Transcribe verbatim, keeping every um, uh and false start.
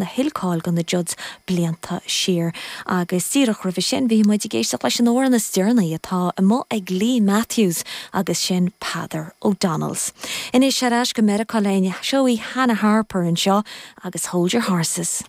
a thuill cáil do na Judds blianta siar. Agus díreach roimhe sin bhí muid ag éisteacht leis an amhrán is deireanaí atá amuigh ag Lee Matthews agus sin Peadar O'Donnell's. Anois ar ais go Meiriceá linn seo í Hannah Harper anseo agus hold your horses.